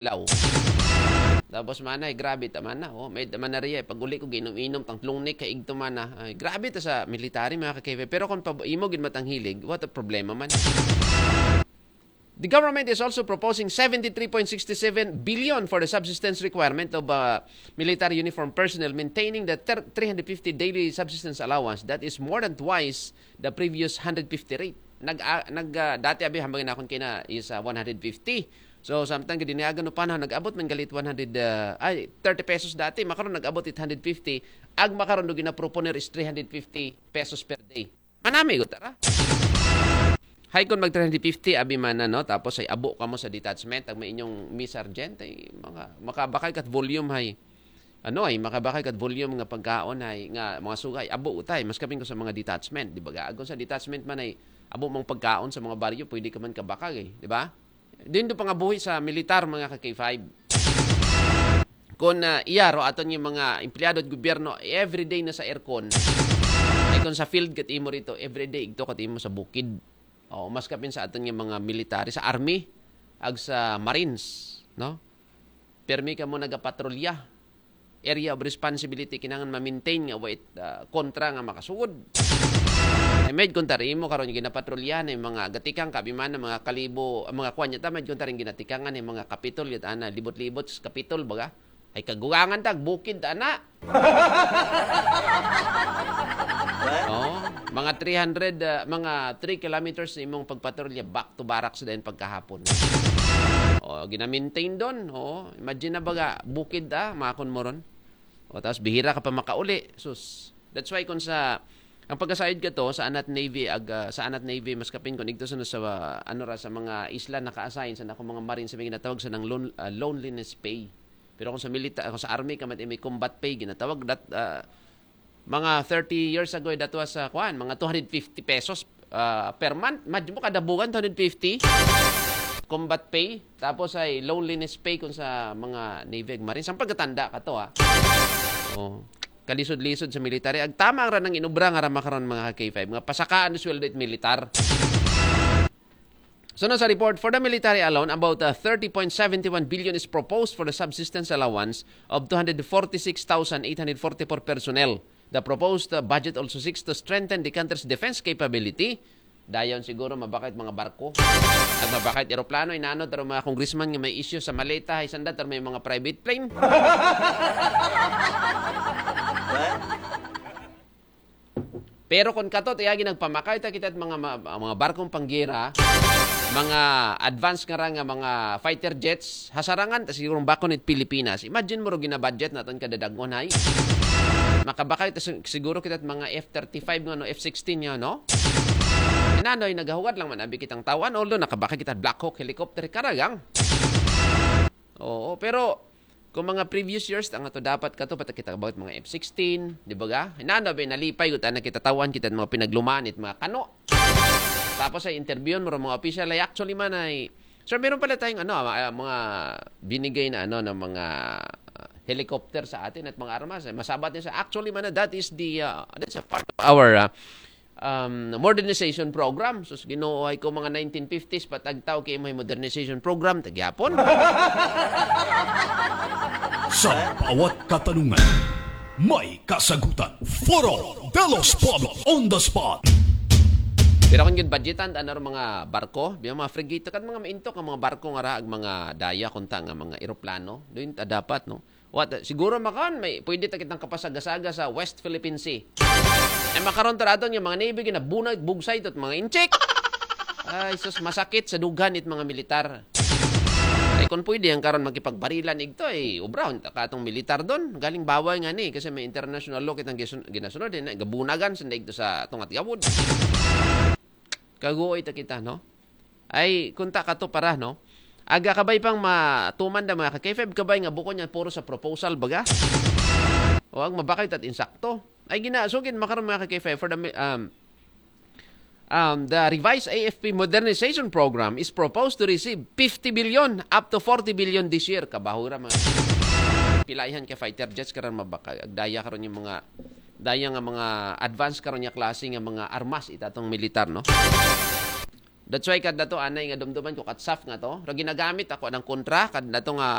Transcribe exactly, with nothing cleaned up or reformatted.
law. Tapos mana, ay, grabe ta mana, oh. May mana riya, pag uli ko, ginom-inom, tang tlong nik, kaigto mana. Ay, grabe ta sa military, mga ka-K five. Pero kung pab-, imo gid matang hilig, what a problema man. The government is also proposing seventy-three point six seven billion for the subsistence requirement of uh, military uniform personnel, maintaining the ter- three hundred fifty daily subsistence allowance. That is more than twice the previous hundred fifty rate. Nag, ah, nag ah, dati abi hambang nakon kina is ah, one hundred fifty. So samtang gidiniagan no panahon nag-abot man galit one hundred ah, ay thirty pesos dati, makaron nag-abot it hundred fifty. Ag makaron do ginaproponer is three hundred fifty pesos per day. Manami ko tara. Hay kon mag three hundred fifty abi man na, no, tapos ay abo ka mo sa detachment, ag may inyong mi sergeant ay mga makabakay kat volume hay ano ay makabakay kat volume nga pagkaon hay nga mga sugay abo utay mas kapin ko sa mga detachment, di ba? Agon sa detachment man ay abo mang pagkaon sa mga baryo, pwede ka man kabakag, eh, di ba? Din do pangabuhi sa militar, mga ka-K five. Kung uh, iya ro aton yung mga empleyado at gobyerno, everyday na sa aircon. Ay kung sa field kat imo rito, everyday igto kat imo sa bukid. O mas kapin sa aton yung mga military, sa army, ag sa marines, no? Permi ka mo nagapatrolya. Area of responsibility, kinangan ma-maintain nga wait uh, kontra nga makasugod. Ay med kontra imo karon ginapatrolyahan ay mga gatikang kabiman ng mga kalibo, mga kwan yata med kontra rin ginatikangan ay mga kapitol yata na libot-libot sa kapitol baga. Ay kagugangan tag bukid ana. Oh, mga three hundred, uh, mga three kilometers imong pagpatrolya back to barracks din pagkahapon. Oh, ginamintain doon. Oh, imagine na baga bukid ah, makon mo ron. O tapos bihira ka pa makauli. Sus. That's why kung sa ang pagkasayod ka to sa Anat Navy ag ah, sa Anat Navy mas kapin kung igto sa sa ah, ano ra sa mga isla naka-assign sa nako mga marine sa mga ginatawag sa nang lon, ah, loneliness pay. Pero kung sa milita kung sa army ka may combat pay ginatawag that ah, mga thirty years ago that was ah, kuan mga two hundred fifty pesos ah, per month. Imagine mo kada buwan two hundred fifty combat pay tapos ay loneliness pay kung sa mga navy ag marine. Sa pagkatanda ka to ha. Oh. Kalisod-lisod sa military. Ag tama ra nang inubra nga ra makaron mga K five. Mga pasakaan sweldo it militar. So na sa report, for the military alone, about uh, thirty point seven one billion is proposed for the subsistence allowance of two hundred forty-six thousand eight hundred forty-four personnel. The proposed uh, budget also seeks to strengthen the country's defense capability. Dayon siguro mabakit mga barko. Ag mabakit eroplano, inano taro mga congressman nga may issue sa maleta, hay sanda taro may mga private plane. Pero kung kato, tiyagi nagpamakay ta kita mga ma- mga barkong panggera, mga advance nga ra nga mga fighter jets, hasarangan ta siguro bakon it Pilipinas. Imagine mo ro ginabudget naton kada dagon hay. Makabakay ta sig- siguro kita mga F thirty-five nga no, F sixteen nga no. Inanoy nagahugad lang man abi kitang tawan, although nakabakay kita Black Hawk helicopter karagang. Oo, pero kung mga previous years, ang ato dapat kato, pati kita about mga F sixteen, di ba ga? Hinano ba, nalipay, gutan na kita tawan, kita mga pinaglumanit, mga kano. Tapos ay interview mo mga official, ay actually man ay, sir, meron pala tayong ano, ah, mga binigay na ano, ng mga ah, helicopter sa atin at mga armas. Eh, masabat niya sa, actually man, that is the, uh, that's a part of our uh, um, modernization program. Sus, Ginoo, ay ko mga nineteen fifties, patagtaw kay may modernization program, tagyapon. Sa bawat katanungan, may kasagutan. Foro de los Pueblos on the spot. Pero kung yun, budgetan, ano rin mga barko, biya mga frigate, kan mga maintok ang mga barko nga raag mga daya, kunta nga mga eroplano, doon ta dapat, no? What, siguro makan, may pwede ta kitang kapasagasaga sa West Philippine Sea. Ay makaron taradon yung mga navy, ginabunag, bugsay, tot mga inchik. Ay, sus, masakit sa dughan it mga militar. Ay, kung pwede, ang karon makipagbarilan igto, ay, ubrahon, ta katong militar doon. Galing bawal nga ni, kasi may international law kitang gisun- ginasunod, eh, na gabunagan, sa igto sa tungat gawod. Kaguoy ta kita, no? Ay, kunta ka to para, no? Aga kabay pang matuman da mga ka-K five kabay nga buko niya puro sa proposal baga. O ang mabakay tat insakto. Ay gina, so gin makaroon mga ka-K five for the mi- um, um, the revised A F P modernization program is proposed to receive fifty billion up to forty billion this year. Kabahura mga pilaihan ka fighter jets karon mabakay. Agdaya karon yung mga daya nga mga advance karon niya klase nga mga armas itatong militar, no? That's why kad nato anay nga dumduman ko kat saf nga to. Ra ginagamit ako ng kontra kad nato nga